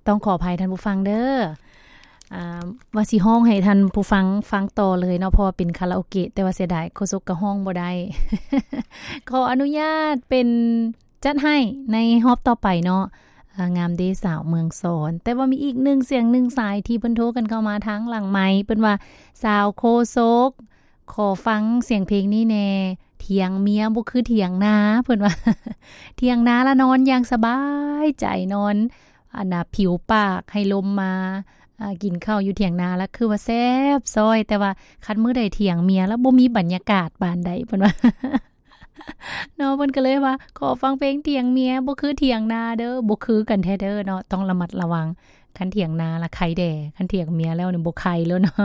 ຕ້ອງຂໍອະໄພທ່ານຜູ້ຟັງເດີ ອາ ວ່າຊິຮ້ອງໃຫ້ທ່ານຜູ້ຟັງຟັງຕໍ່ເລີຍເນາະ ເພາະວ່າເປັນຄາຣາໂອເກະ ແຕ່ວ່າເສຍດາຍໂຄສົກກໍຮ້ອງບໍ່ໄດ້ ຂໍອະນຸຍາດເປັນ ຈັດໃຫ້ໃນຮອບຕໍ່ໄປເນາະ ອາ ງາມເດສາວເມືອງສອນ. ແຕ່ວ່າມີອີກໜຶ່ງສຽງໜຶ່ງສາຍທີ່ເພິ່ນໂທກັນເຂົ້າມາທາງຫຼັງໄມ ເພິ່ນວ່າ ສາວໂຄສົກ ຂໍຟັງສຽງເພງນີ້ແດ່ ຖຽງເມຍບໍ່ຄືຖຽງນາ ເພິ່ນວ່າ ຖຽງນາລະນອນຢ່າງສະບາຍໃຈ ນອນ ອັນນ່າ ຜິວປາກໃຫ້ລົມມາ ອາ ກິນເຂົ້າຢູ່ຖຽງນາລະຄືວ່າແຊບຊ້ອຍ ແຕ່ວ່າຄັນມື້ໃດຖຽງເມຍລະບໍ່ມີບັນຍາກາດປານໃດ ເພິ່ນວ່າ. ເນາະ ເພິ່ນກໍເລີຍວ່າ ຂໍຟັງເພງຖຽງເມຍ ບໍ່ຄືຖຽງນາເດີ ບໍ່ຄືກັນແທ້ເດີເນາະ ຕ້ອງລະມັດລະວັງ ຄັນຖຽງນາລະໄຄແດ່ ຄັນຖຽງເມຍແລ້ວນີ້ບໍ່ໄຄແລ້ວເນາະ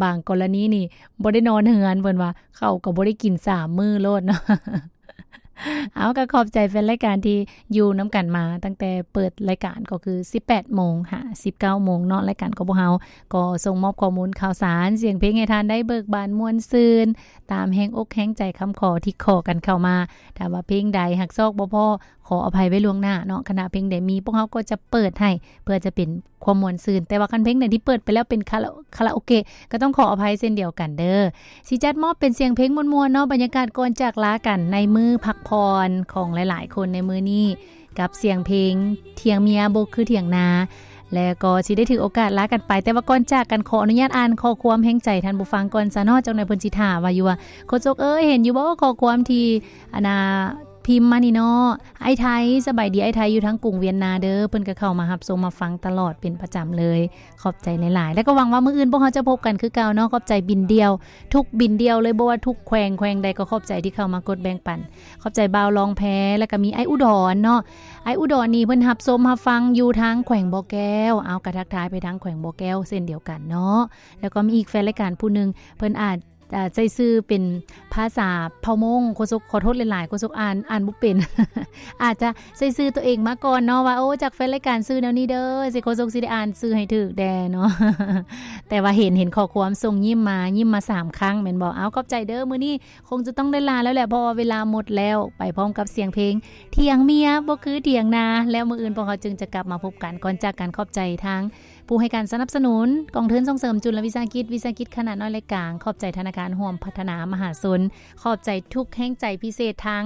ບາງກໍລະນີນີ້ບໍ່ໄດ້ນອນເຮືອນ ເພິ່ນວ່າ ເຂົ້າກໍບໍ່ໄດ້ກິນສາມມື້ໂລດເນາະ. ເອົາ ກໍຂອບໃຈແຟນລາຍການທີ່ຢູ່ນຳກັນມາຕັ້ງແຕ່ເປີດລາຍການ ກໍຄືສິບແປດໂມງຫາສິບເກົ້າໂມງເນາະ ລາຍການຂອງພວກເຮົາກໍສົ່ງມອບຂໍ້ມູນຂ່າວສານ ສຽງເພງໃຫ້ທ່ານໄດ້ເບີກບານມ່ວນຊື່ນ ຕາມແຮງອົກແຮງໃຈຄຳຂໍທີ່ຂໍກັນເຂົ້າມາ. ຖ້າວ່າເພງໃດຫາກຊອກບໍ່ພໍ ຂໍອະໄພໄວ້ລ່ວງໜ້າເນາະ. ຄັນຫາກເພງໃດມີ ພວກເຮົາກໍຈະເປີດໃຫ້ ເພື່ອຈະເປັນຄວາມມ່ວນຊື່ນ. ແຕ່ວ່າຄັນເພງໃດທີ່ເປີດໄປແລ້ວເປັນຄາຣາ ຄາຣາໂອເກະ ກໍຕ້ອງຂໍອະໄພເຊັ່ນດຽວກັນເດີ. ຊິຈັດມອບເປັນສຽງເພງມ່ວນໆເນາະ, ບັນຍາກາດກ່ອນຈາກລາກັນໃນມື້ພັກຜ່ອນຂອງຫຼາຍໆຄົນໃນມື້ນີ້ ກັບສຽງເພງຖຽງເມຍບໍ່ຄືຖຽງນາ ແລະກໍຊິໄດ້ຖືກໂອກາດລາກັນໄປ. ແຕ່ວ່າກ່ອນຈາກກັນ ຂໍອະນຸຍາດອ່ານຂໍ້ຄວາມແຮງໃຈທ່ານຜູ້ຟັງກ່ອນຊະເນາະ, ຈັກໜ່ອຍເພິ່ນຊິຖາມວ່າຢູ່ວ່າ ໂຄສົກເອີຍ ເຫັນຢູ່ບໍ່ຂໍ້ຄວາມທີ່ ອັນນ່າ ພິມມານີ້ເນາະ, ອ້າຍໄທ ສະບາຍດີອ້າຍໄທ ຢູ່ທາງກຸງວຽນນາເດີ. ເພິ່ນກໍເຂົ້າມາຮັບຊົມມາຟັງຕະຫຼອດເປັນປະຈຳເລີຍ. ຂອບໃຈຫຼາຍໆ ແລ້ວກໍຫວັງວ່າມື້ອື່ນພວກເຮົາຈະພົບກັນຄືເກົ່າເນາະ. ຂອບໃຈບິນດ່ຽວ ທຸກບິນດ່ຽວເລີຍ, ບໍ່ວ່າທຸກແຂວງ, ແຂວງໃດກໍຂອບໃຈທີ່ເຂົ້າມາກົດແບ່ງປັນ. ຂອບໃຈບ່າວລອງແພ ແລ້ວກໍມີອ້າຍອຸດອນເນາະ. ອ້າຍອຸດອນນີ້ເພິ່ນຮັບຊົມຮັບຟັງຢູ່ທາງແຂວງບໍ່ແກ້ວ. ເອົາ ກໍທັກທາຍໄປທາງແຂວງບໍ່ແກ້ວເຊັ່ນດຽວກັນເນາະ. ແລ້ວກໍມີອີກແຟນລາຍການຜູ້ໜຶ່ງ ເພິ່ນອາດ ອາ ໃຊ້ຊື່ເປັນພາສາເຜົ່າມົ້ງ. ໂຄສົກຂໍໂທດຫຼາຍໆ, ໂຄສົກອ່ານ, ອ່ານບໍ່ເປັນ. ອາດຈະໃຊ້ຊື່ຕົວເອງມາກ່ອນເນາະ ວ່າ ໂອ້ ຈາກແຟນລາຍການຊື່ແນວນີ້ເດີ, ຊິ ໂຄສົກຊິໄດ້ອ່ານຊື່ໃຫ້ຖືກແດ່ເນາະ. ແຕ່ວ່າເຫັນ, ເຫັນຂໍ້ຄວາມສົ່ງຍິ້ມມາ, ຍິ້ມມາສາມຄັ້ງແມ່ນບໍ່? ເອົາ ຂອບໃຈເດີ. ມື້ນີ້ຄົງຈະຕ້ອງໄດ້ລາແລ້ວແຫຼະ, ເພາະວ່າເວລາໝົດແລ້ວ. ໄປພ້ອມກັບສຽງເພງ ຖຽງເມຍບໍ່ຄືຖຽງນາ. ແລ້ວມື້ອື່ນພວກເຮົາຈຶ່ງຈະກັບມາພົບກັນ. ກ່ອນຈາກກັນ ຂອບໃຈທາງ ຜູ້ໃຫ້ການສະໜັບສະໜູນ ກອງທຶນສົ່ງເສີມຈຸນລະວິສາຫະກິດ, ວິສາຫະກິດຂະໜາດນ້ອຍ ແລະ ກາງ. ຂອບໃຈທະນາຄານຮ່ວມພັດທະນາມະຫາຊົນ. ຂອບໃຈທຸກແຮງໃຈພິເສດ ທາງ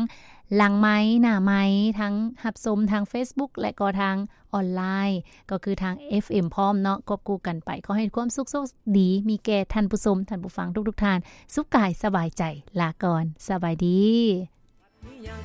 ຫຼັງໄມ, ໜ້າໄມ, ທັງຮັບຊົມທາງເຟສບຸກ ແລະ ກໍທາງອອນລາຍ, ກໍຄືທາງເອັຟເອັມພ້ອມເນາະ, ຄວບຄູ່ກັນໄປ. ຂໍໃຫ້ຄວາມສຸກໂຊກດີມີແກ່ທ່ານຜູ້ຊົມ, ທ່ານຜູ້ຟັງທຸກໆທ່ານ. ສຸກກາຍສະບາຍໃຈ. ລາກ່ອນ. ສະບາຍດີ.